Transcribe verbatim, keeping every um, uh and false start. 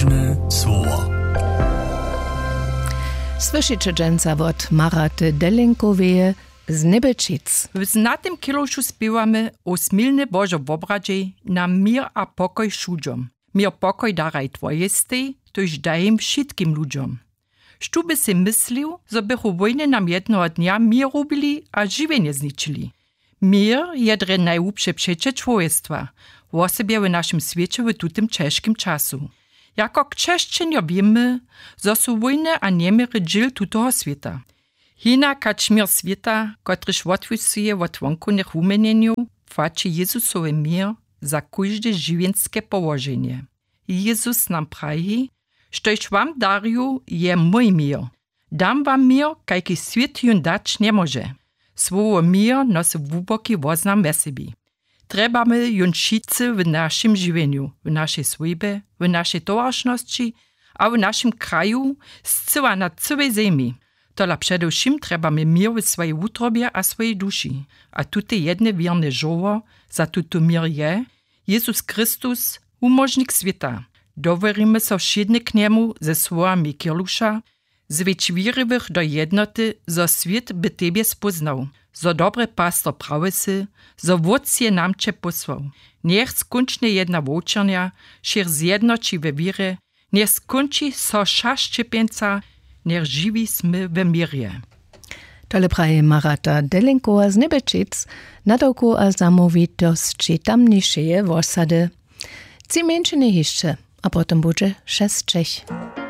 Słowo. Słyšeće dźensa wot Maraty Delenkoweje z Njebelčic. W znatym kělušu spěwamy o smilny Božo wobradźej na měr a pokoj wšudźom. Měr pokoj daraj twojej stej, tójž daj jim wšitkim ludźom. Štó by sej myslił, zo bychu wójny nam jednoho dnja měr rubili a žiwjenje zničili? Měr je drje najłubše přeće čłowjestwa, wosebje w našim swěće w tutym ćežkim času. Jako křesćenjo wěmy, zo su wójny a njeměry dźěl tutoho swěta. Hinak hač měr swěta, kotryž wotwisuje wot wonkownych wuměnjenjow, płaći Jezusowy měr za kóžde žiwjenske połoženje. Jezus nam praji: „Štož wam darju, je mój měr. Dam wam měr, kajki swět jón dać njemóže.” Słowo měr nosi hłuboki woznam we sebi. Trjebamy jón wšitcy w našim žiwjenju, w našej swójbje, w našej towaršnosći a w našim kraju, scyła na cyłej zemi. Tola předewšěm trjebamy měr w swojej wutrobje a swojej duši. A tute jedne wěrne žoło za tutu měr je Jezus Chrystus, wumóžnik swěta. Dowěrimy so wšědny k njemu ze słowami kěluša: „Zwjedź wěriwych do jednoty, zo swět by tebje spóznał, zo dobry pastor prawy sy, zo wótc je nam će pósłał. Njech skónčnje jedna wowčernja wšěch zjednoći we wěrje, njech skónči so wša šćěpjeńca, njech žiwi smy we měrje.” Tole praji Marata Delenkowa z Njebelčic, nadawkow a zamołwitosći tamnišeje wosady. Tři mjeńšiny hišće, a potom budźe šesćech.